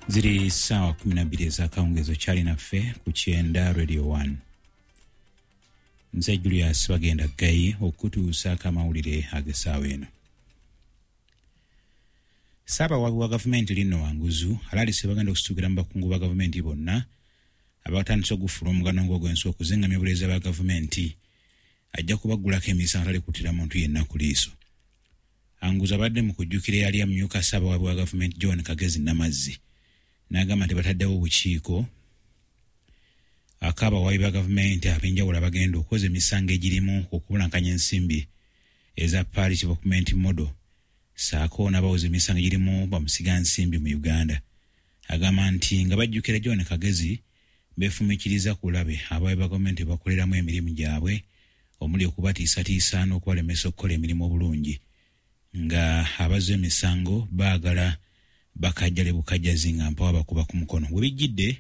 Ziri ssaawa 12 ez'akawungeezi, okyali naffe ku Kyenda Radio 1. Nze Julius Bagenda Ggayi okutuusaako amawulire ag'essaawa eno. Ssaabawaabi wa gavumenti Lino Wanguzu alaalise bagenda okusitukira mu bakungu ba gavumenti bonna abatandise ogufuula omugano ng'ogw'ensi okuzingamya obuleeza bwa gavumenti, ajja kubaggulako emisango atali kuttira muntu yenna ku liiso. Anguzu abadde mu kujjukira eyali amyuka ssaabawaabi wa gavumenti John Kagezi Namazzi, n'agamba nti bataddewo obukiiko ak'abawaabi ba gavumenti ab'enjawulo abagenda okwoza emisango egirimu okubulankanya ensimbi eza Parish Development Model, ssaako n'abawoza emisango egirimu bamusigansimbi mu Uganda. Agamba nti nga bajjukira John Kagezi, beefumiitiriza ku bulabe abawaabi ba gavumenti bakoleramu emirimu gyabwe, omuli okubatiisatiisa n'okubalemesa okukola emirimu obulungi, nga abazza emisango baagala bakajjale bukajjazi nga mpawa bakuba ku mukono. We bijjidde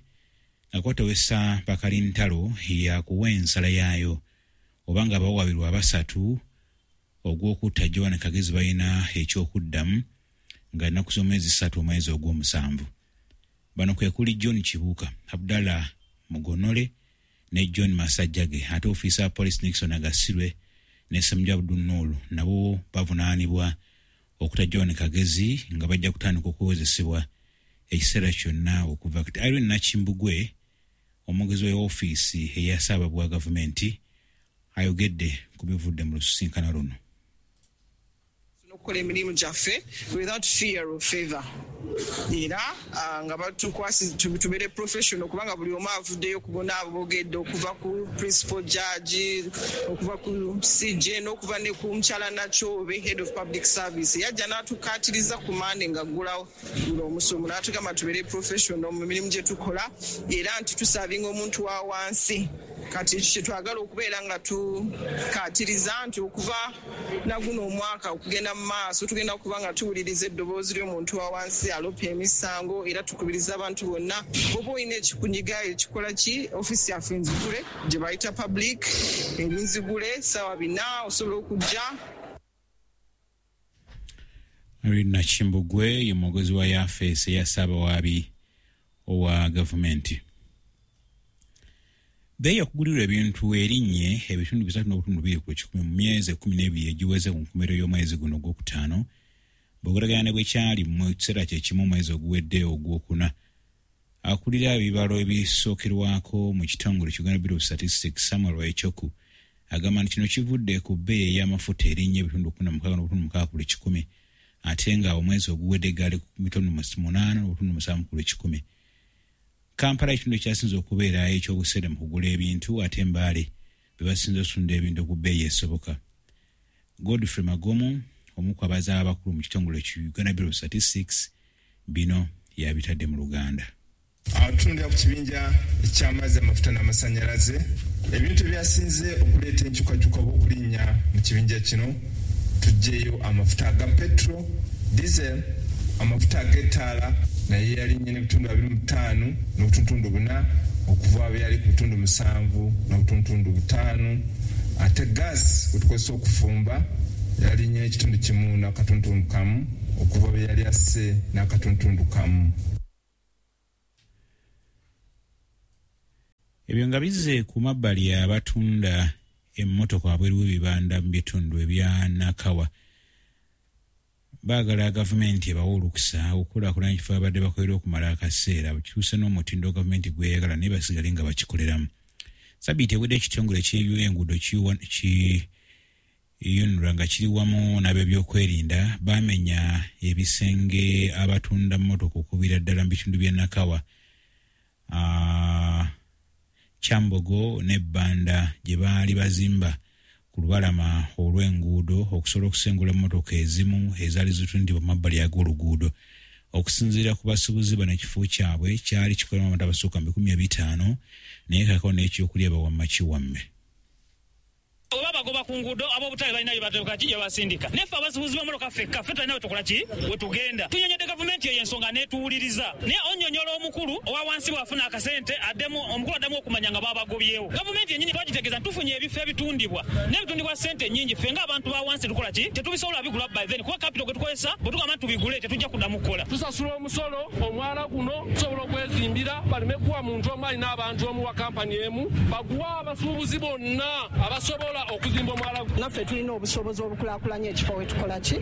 nga kwatowesa bakalintalo yakuwa ensala yaayo oba nga abawawaabirwa abasatu ogw'okutta Joan Kagezi balina ekyokuddamu nga ennaku z'omwezi 3 omwezi ogw'omusanvu. Bano kwe kuli John Kibuuka, Abdallah Mugonole ne John Masajjage, ate ofiisa wa poliisi Nixon Agasirwe ne Ssemujju Abdul Noor nabo bavunaanibwa okuta John Kagezi nga bajja kutandika okuwozesebwa ekiseera kyonna okuva kati. Irene Nakimbugwe, omwogezi wa ofiisi eya Ssaabawaabi wa gavumenti, ayogedde ku bivudde mu lusisinkano luno. Okukola emirimu gyaffe without fear of favor, era nga batukwasi tubeere professional, kubanga buli omu avuddeyo ku bonna aboogedde, okuva ku principal judge, okuva ku CJ, n'okuva ne ku mukyala Nakyobe, head of public service, yajja n'atukaatiriza ku Mande nga ggulawo guno omusomo, n'atugamba tubeere professional mu mirimu gye tukola, era nti tuservinga omuntu wa wansi. Kati ekyo kye twagala okubeera nga tukaatiriza nti okuva naguno omwaka okugenda mu maaso, tugenda kuba nga tuwuliriza eddoboozi ly'omuntu wa wansi alopa emisango, era tukubiriza abantu bonna, oba olina ekikunyiga, ekikola ki, ofiisi yaffe nzigule, gye bayita public erinzigule ssaawa 4, osobola okujja. Irene Nakimbugwe ye mwogezi wa yafeesi eya Ssaabawaabi owa gavumenti. Bbeeyi okugulirwa ebintu erinnye ebitundu 3.2% mu myezi 12 egiweze ku nkomerero y'omwezi guno ogwokutaano, bw'ogeraganya ne bwe kyali mu kiseera kye kimu omwezi oguwedde ogwokuna. Akulira ebibalo ebisookerwako mu kitongole Uganda Bureau of Statistics, Samuel Echoku, agamba nti kino kivudde ku bbeeyi ey'amafuta erinnye ebitundu 16.6%, ate nga omwezi oguwedde gaali ku bitundu 8.7%. Kampala ekitundu ekyasinze okubeera ekyobuseere mu kugula ebintu, ate Mbaale be basinze okutunda ebintu ku bbeeyi esoboka. Godfrey Magomu, omu ku abazaaba abakulu mu kitongole ki Uganda Bureau of Statistics, bino yabitadde mu Luganda. Tutundira ku kibinja eky'amazzi, amafuta n'amasannyalaze. Ebintu ebyasinze okuleeta enkyukakyuka oba okulinnya mu kibinja kino, tuggyeyo amafuta aga petrol, diesel, amafuta ag'ettaala, naye yalinnye n'ebitundu 25.4, okuva bwe yali ku bitundu 7.5. Ate gas gwe tukozesa okufumba yalinnye n'ekitundu 1.1, okuva bwe yali asse n'akatuntundu kamu. Ebyo nga bizze ku mabbali, abatunda emmotoka wabweru w'ebibanda mu bitundu ebya Nakawa baagala gavumenti ebawe olukusa okukulaakulanya ekifo babadde bakolera okumala akaseera, bukyuse n'omutindo gavumenti gweyagala, naye basigale nga bakikoleramu. Sabiiti ewedde ekitongole ky'ebyenguudo ki UNRA nga kiri wamu n'ab'ebyokwerinda bamenya ebisenge abatunda mmotoka okubira ddala mu bitundu by'e Nakawa, Kyambogo ne Bbanda gye baali bazimba ku lubalama olw'enguudo okusobola okusengula emmotoka ezimu ezaali zitundibwa mu mabbali ag'oluguudo. Okusinziira ku basuubuzi bano, ekifo kyabwe kyali kikoleramu abantu abasukka mu 500,000, naye kaakano n'ekyokulya bawamma kiwamme. Oba bagoba. Abatunda ku nguudo ab'obutale balina bye basindika, naye ffe abasuubuzi b'emmotoka ffekka ffe tulina we tukola ki we tugenda. Tunyonyodde gavumenti eyo ensonga n'etuwuliriza, naye onnyonnyola omukulu owa wansi bw'afuna akasente addemu omukulu addamu okumanya nga babagobyewo. Gavumenti yennyini twagitegeeza nti tufunye ebifo ebitundibwa n'ebitundibwa ssente nnyingi, ffe ng'abantu ba wansi tukola ki tetubisobola bigula by then, kuba capital gwe tukozesa bwe tugamba nti tubigule tetujja kuddamu kukola. Tusasula omusolo, omwala guno tusobola okwezimbira, baleme kuwa muntu omu alina abantu omu wa kampani emu, baguwa abasuubuzi bonna abasobola okuzimba omwala. Naffe tulina obusobozi obukulaakulanya ekifo wetukola ki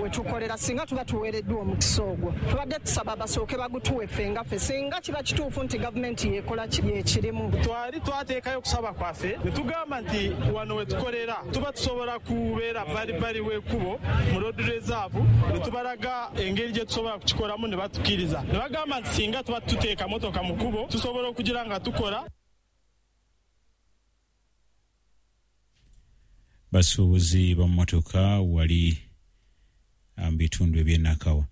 wetukolera singa tuba tuweereddwa omukisa ogwo. Tubadde tusaba basooke bagutuwe ffe nga ffe, singa kiba kituufu nti gavumenti yekola ki yekirimu. Twali twateekayo okusaba kwaffe ne tugamba nti wano wetukolera tuba tusobola kubeera balibali w'ekkubo mu road reserve, ne tubalaga engeri gye tusobola kukikolamu ne batukkiriza ne bagamba nti singa tuba tuteeka motoka mu kkubo tusobola okugira nga tukola. Basuubuzi bammotoka wali mu bitundu eby'enakawa.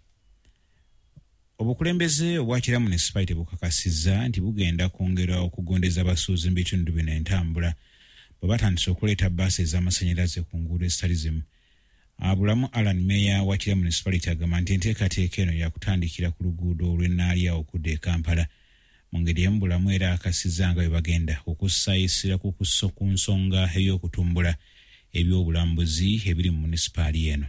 Obukulembeze obwa Kira Municipality bukakasizza nti bugenda kwongera okugondeza abasuubuzi mu bitundu bino entambula bwe batandise okuleeta bbaasi ez'amasannyalaze ku nguudo ezitali zimu. Abulamu Alan, meeya wa Kira Municipality, agamba nti enteekateeka eno yakutandikira ku luguudo olw'e okudda e Kampala. Mu ngeri emu Bulamu era akasizza nga bwe bagenda okussa essira ku nsonga ey'okutumbula ebyobulambuzi ebiri mu munisipaali eno.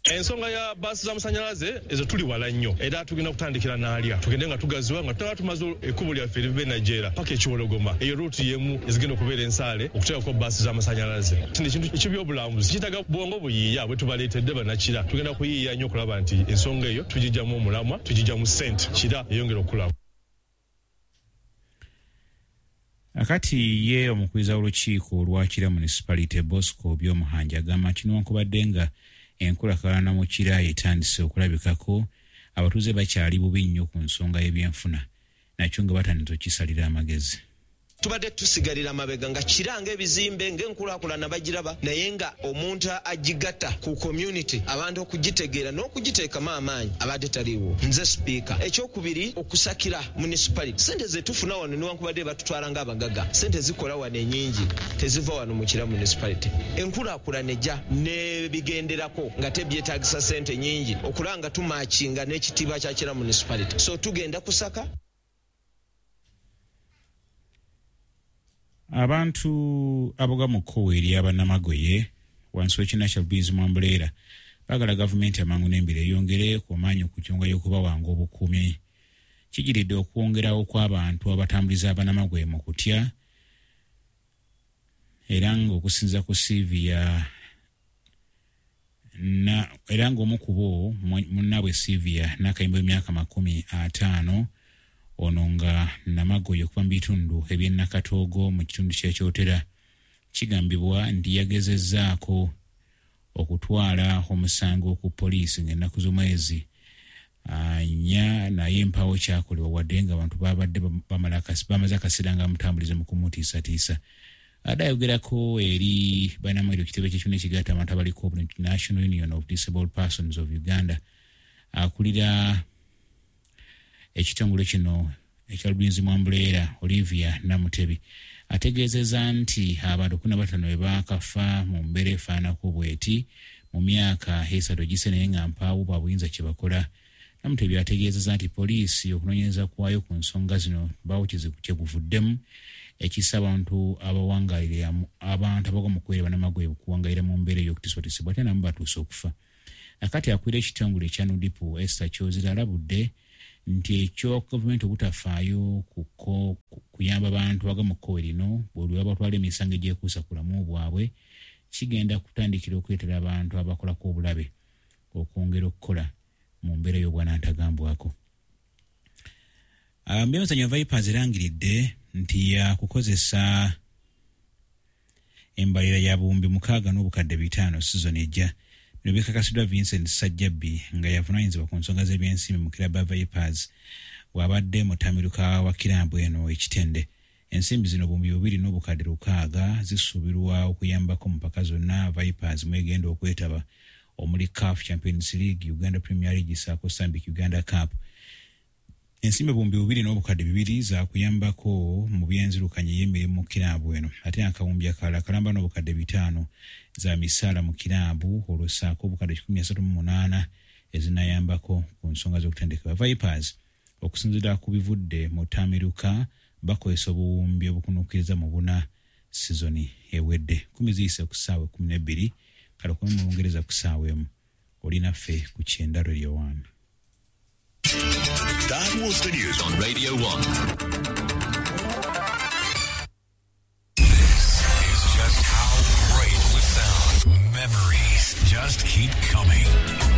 Ensonga ya baasi z'amasannyalaze ezo tuli wala nnyo, era tugenda kutandikira Naalya, tugende nga tugaziwa nga tutaba tumaze ekkubo lyaffe eriva e Najjeera paka Ekiwologoma. Eyo ruutu y'emu ezigenda okubeera ensaale okuteekako baasi z'amasannyalaze. Kino ekintu eky'ebyobulambuzi kiitaaga bwongo buyiiya bwe tubaleetedde bannakira. Tugenda kuyiiya nnyo okulaba nti ensonga eyo tugijjamu omulamwa, tugijjamu ssente, Kira eyongera okukula. Akati ye omukubiriza w'olukiiko olwa Kira Municipality, Bosco Byomuhanja, agamba nti newankubadde nga enkulaakulana mu Kira etandise okulabikako, abatuuze bakyali bubi nnyo ku nsonga y'ebyenfuna, nakyo nga batandise okukisalira amagezi. Tubadde tusigalira mabega nga kiranga ebizimbe ng'enkulaakulana bagiraba, naye nga omuntu agigatta ku community, abantu okugitegeera n'okugiteekamu amaanyi abadde taliiwo. Nze sipiika. Ekyokubiri, okusakira municipality sente zetufuna wano, newankubadde batutwala ng'abagaga, sente zikola wano enyingi teziva wano mu Kira Municipality. Enkulaakulana ejja n'ebigenderako nga tebyetaagisa sente nyingi okulaba nga tumakinga n'ekitiibwa kya Kira Municipality, so tugenda kusaka. Abantu aboga mu kkowe eri abannamagoye wansi w'ekibiina kya Lubirizi Mwambuleera baagala gavumenti amangu n'embiro eyongere ku maanyi ku kyonga y'okubawanga obukuumi. Kijiridde okwongerawo kw'abantu abatambuliza abannamagoye mu kutya, era ng'okusinza ku Sylvia na era ng'omu ku bo munnaabwe Sylvia Nakayimba w'emyaka 50, ono nga namagoye okuva mu bitundu eby'e Nakatoogo mu kitundu ky'Ekyotera, kigambibwa nti yagezezzaako okutwala omusango ku poliisi ng'ennaku z'omwezi 4, naye mpaawo kyakolebwa wadde nga abantu babadde bamaze akaseera nga bamutambuliza mu kumutiisatiisa. Adde ayogerako eri bannamawulire ku kitebe ky'ekibiina ekigatta abantu abaliko National Union of Disabled Persons of Uganda, akulira ekitongole kino ekya Lubirizi Mwambuleera, Olivia Namutebi, ategeezezza nti abantu 15 bwe baakafa mu mbeera efaanako bweti mu myaka 3 egise, naye nga mpaawo bwabuyinza kye bakola. Namutebi ategeezezza nti poliisi okunoonyereza kwayo ku nsonga zino mpaawo kye kuvuddemu ekisa abantu abawangalira abantu abagwa mu kubeera bannamagoye okuwangalira mu mbeera ey'okutiisibwatiisibwa, ate namu batuuse okufa. Akati akulira ekitongole ekya NUDIPU, Esther Kyozira, alabudde nti ekyo gavumenti obutafaayo kuyamba bantu baga mu kkowe lino bwe lwe batwala emisango egyekuusa ku bulamu bwabwe kigenda kutandikira okuleetera abantu abakolako obulabe okwongera okukola mu mbeera y'obwanantagambwako. Mu byemizannyo, Vipers erangiridde nti yakukozesa embalira ya 6500 sizoni ejja. Bino bikakasiddwa Vincent Sajjabbi nga yavunaanyizibwa ku nsonga z'ebyensimbi mu kiraba Vipers bw'abadde mutamiruka wa kirambu eno ekitende. Ensimbi zino 2600 zisuubirwa okuyambako mu mpaka zonna Vipers mwegenda okwetaba omuli CAF Champions League, Uganda Premier League saako Stanbic Uganda Cup. Ensimbi 2,200 zakuyambako mu byenzirukanya ey'emirimu mu kiraabu eno, ate akawumbi akalala kalamba n'obukadde 5 za misaala mu kiraabu, olwo ssaako obukadde 138 ezinayambako ku nsonga z'okutendekebwa. Vipers okusinziira ku bivudde mu ttamiruka bakozesa obuwumbi obukunukkiriza mu 4 sizoni ewedde. 10 ziyise ku ssaawa 12, kale okome mu Bungereza ku ssaawa 1. Oli naffe ku Kyenda Radio 1. That was the news on Radio 1. This is just how great we sound. Memories just keep coming.